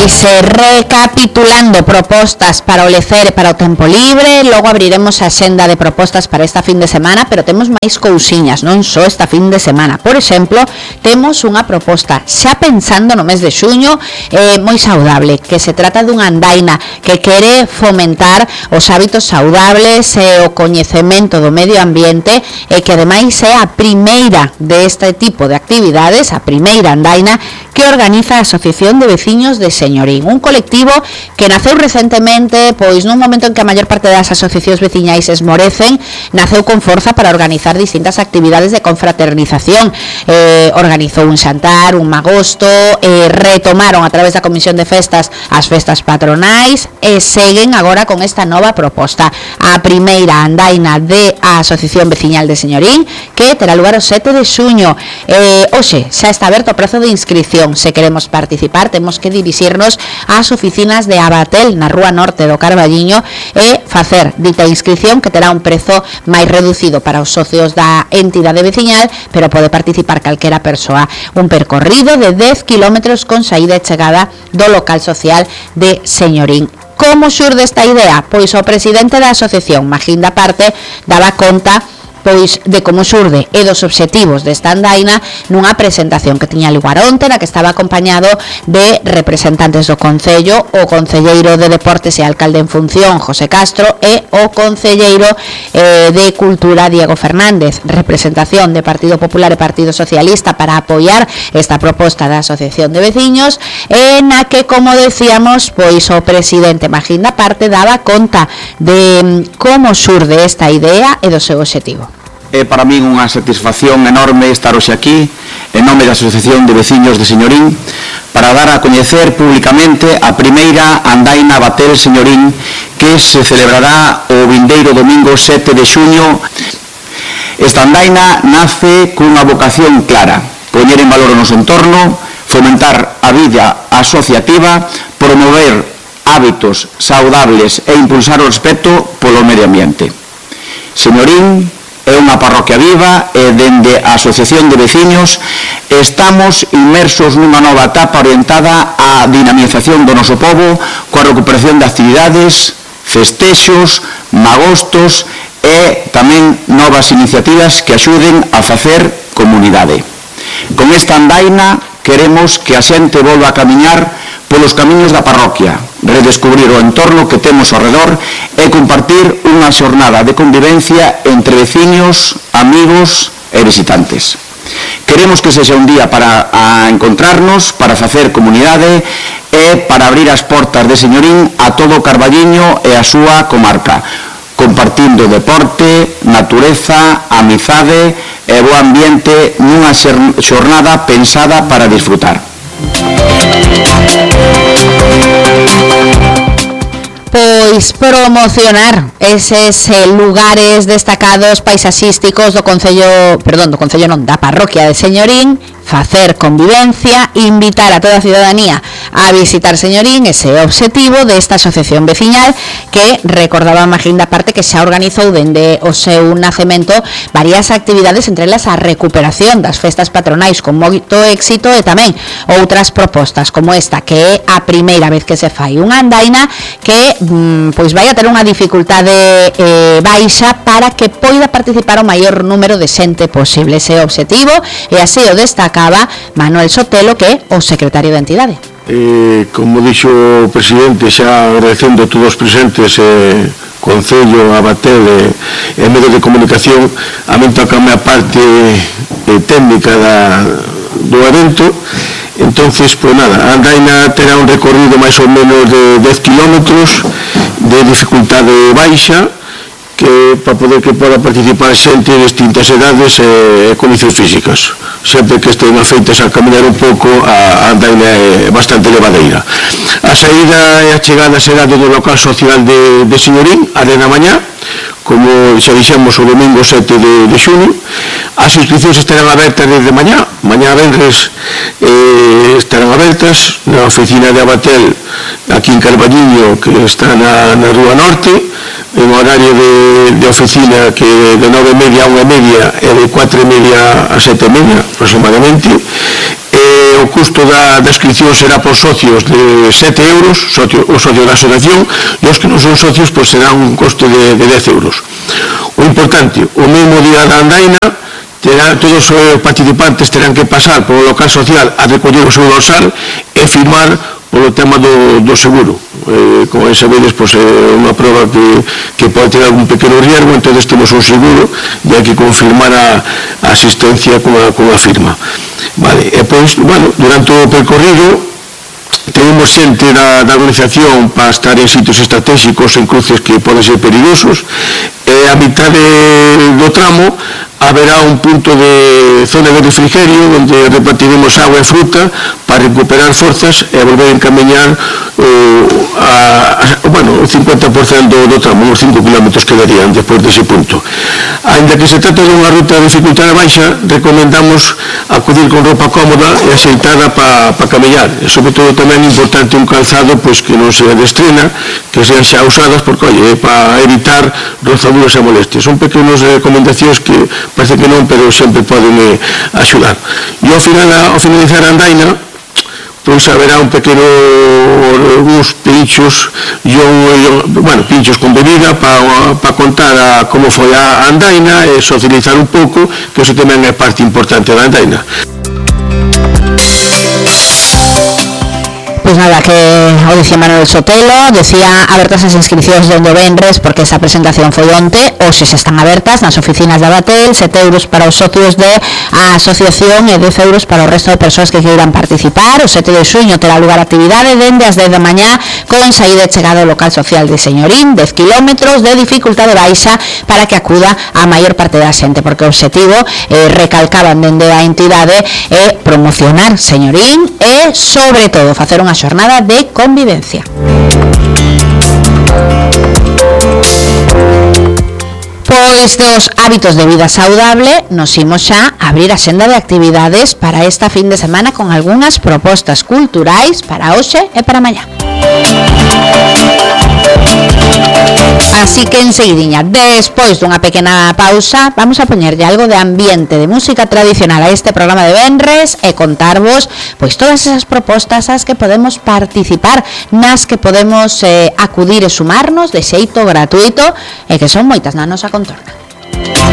Pois recapitulando propostas para o lecer e para o tempo libre, logo abriremos a xenda de propostas para esta fin de semana, pero temos máis cousiñas, non só esta fin de semana. Por exemplo, temos unha proposta xa pensando no mes de xuño, moi saudable, que se trata dunha andaina que quere fomentar os hábitos saudables e o coñecemento do medio ambiente, e que ademais é a primeira deste tipo de actividades, a primeira andaina que organiza a Asociación de Veciños de Señorín, un colectivo que naceu recentemente, pois nun momento en que a maior parte das asociacións veciñais esmorecen, naceu con forza para organizar distintas actividades de confraternización. Organizou un xantar, un magosto, retomaron a través da Comisión de Festas as festas patronais e seguen agora con esta nova proposta, a primeira andaina de a Asociación Veciñal de Señorín, que terá lugar o 7 de xuño. Hoxe xa está aberto o prazo de inscripción. Se queremos participar, temos que dirixirnos ás oficinas de Abatel na Rúa Norte do Carballiño e facer dita inscripción, que terá un prezo máis reducido para os socios da entidade veciñal, pero pode participar calquera persoa. Un percorrido de 10 kilómetros con saída e chegada do local social de Señorín. Como xurde esta idea? Pois o presidente da asociación, Magín da Parte, daba conta pois de como xurde e dos obxectivos desta andaina nunha presentación que tiña lugar onte, na que estaba acompañado de representantes do Concello, o concelleiro de Deportes e alcalde en función, José Castro, e o concelleiro de Cultura, Diego Fernández. Representación de Partido Popular e Partido Socialista para apoiar esta proposta da Asociación de Veciños, na que, como decíamos, pois o presidente Magín da Parte daba conta de como xurde esta idea e do seu obxectivo. É para min unha satisfacción enorme estar hoxe aquí en nome da Asociación de Veciños de Señorín para dar a coñecer públicamente a primeira andaina Abatel Señorín, que se celebrará o vindeiro domingo 7 de xuño. Esta andaina nace cunha vocación clara: poñer en valor o noso entorno, fomentar a vida asociativa, promover hábitos saudables e impulsar o respeto polo medio ambiente. Señorín é unha parroquia viva e dende a Asociación de Veciños estamos inmersos nunha nova etapa orientada á dinamización do noso pobo, coa recuperación de actividades, festexos, magostos e tamén novas iniciativas que axuden a facer comunidade. Con esta andaina queremos que a xente volva a camiñar polos camiños da parroquia, redescubrir o entorno que temos ao redor e compartir unha xornada de convivencia entre veciños, amigos e visitantes. Queremos que sexa un día para encontrarnos, para facer comunidade e para abrir as portas de Señorín a todo o Carballiño e a súa comarca, compartindo deporte, natureza, amizade e bo ambiente nunha xornada pensada para disfrutar. Pois promocionar eses lugares destacados paisaxísticos do Concello, da parroquia de Señorín, facer convivencia, invitar a toda a ciudadanía a visitar Señorín, ese obxectivo desta asociación veciñal que, recordaba Magín da Parte, que xa organizou dende o seu nacemento varias actividades, entre elas a recuperación das festas patronais con moito éxito, e tamén outras propostas como esta, que é a primeira vez que se fai unha andaina que pois vai a ter unha dificultade baixa para que poida participar o maior número de xente posible. Ese obxectivo, e así o destacaba Manuel Sotelo, que é o secretario da entidade. Como dixo o presidente, xa agradecendo a todos os presentes, Concello, Abatel e medios de comunicación, a min toca a parte técnica do evento. Entonces, pues nada, a andaina terá un recorrido máis ou menos de 10 kilómetros de dificultade baixa, que para poder que poda participar xente de distintas edades e condicións físicas. Sempre que estén afeitas a caminar un pouco, a andaina é bastante levadeira. A saída e a chegada será do local social de Señorín, a de na mañá, como xa dixemos o domingo 7 de xuño. As inscripcións estarán abertas desde mañá venres, estarán abertas na oficina de Abatel aquí en Carballiño, que está na Rúa Norte, en horario de oficina que de 9:30 a 1:30 e de 4:30 a 7:30 aproximadamente. O o custo da inscripción será por socios de 7 euros, o socio da asociación, e os que non son socios pois será un costo de 10 euros. O importante, o mesmo día da andaina, todos os participantes terán que pasar polo local social a recoller o seu dorsal e firmar polo tema do seguro. Como sabedes, pois, é unha prova que pode ter algún pequeno riesgo, entón temos un seguro e hai que confirmar a asistencia con a firma. Vale, e pois, bueno, durante o percorrido tenemos xente da organización para estar en sitios estratégicos en cruces que poden ser perigosos, e a mitad do tramo haberá un punto de zona de refrigerio onde repartiremos agua e fruta para recuperar forzas e volver a encamiñar o 50% do tramo, uns 5 km quedarían despois dese punto. Ainda que se trata de unha ruta de dificultade baixa, recomendamos acudir con roupa cómoda e axeitada para camiñar, e sobre todo tamén é importante un calzado pois que non sea de estrena, que sean xa usadas, porque para evitar rozaduras e molestias. Son pequenas recomendacións que parece que non, pero sempre poden axudar. E ao finalizar a andaina, pois haberá un pequeno, uns pinchos, pinchos con bebida para contar como foi a andaina e socializar un pouco, que iso tamén é parte importante da andaina. Pois nada, que o dicía Manuel Sotelo, decía abertas as inscripcións dende o venres, porque esa presentación foi onte, hoxe xa están abertas nas oficinas da Batel, 7 euros para os socios da asociación e 10 euros para o resto de persoas que queiran participar. O 7 de xuño terá lugar a actividade dende as 10 da mañá con saída e chegada ao local social de Señorín, 10 kilómetros de dificultade baixa para que acuda a maior parte da xente, porque o obxectivo, recalcaban dende a entidade, é promocionar Señorín e, sobre todo, facer unha xornada de convivencia. Pois dos hábitos de vida saudable nos imos xa abrir a xenda de actividades para esta fin de semana con algunhas propostas culturais para hoxe e para mañá. Así que enseguidiña, despois dunha pequena pausa, vamos a poñerlle algo de ambiente de música tradicional a este programa de venres e contarvos pois todas esas propostas ás que podemos participar, nas que podemos acudir e sumarnos de xeito gratuito e que son moitas na nosa contorna.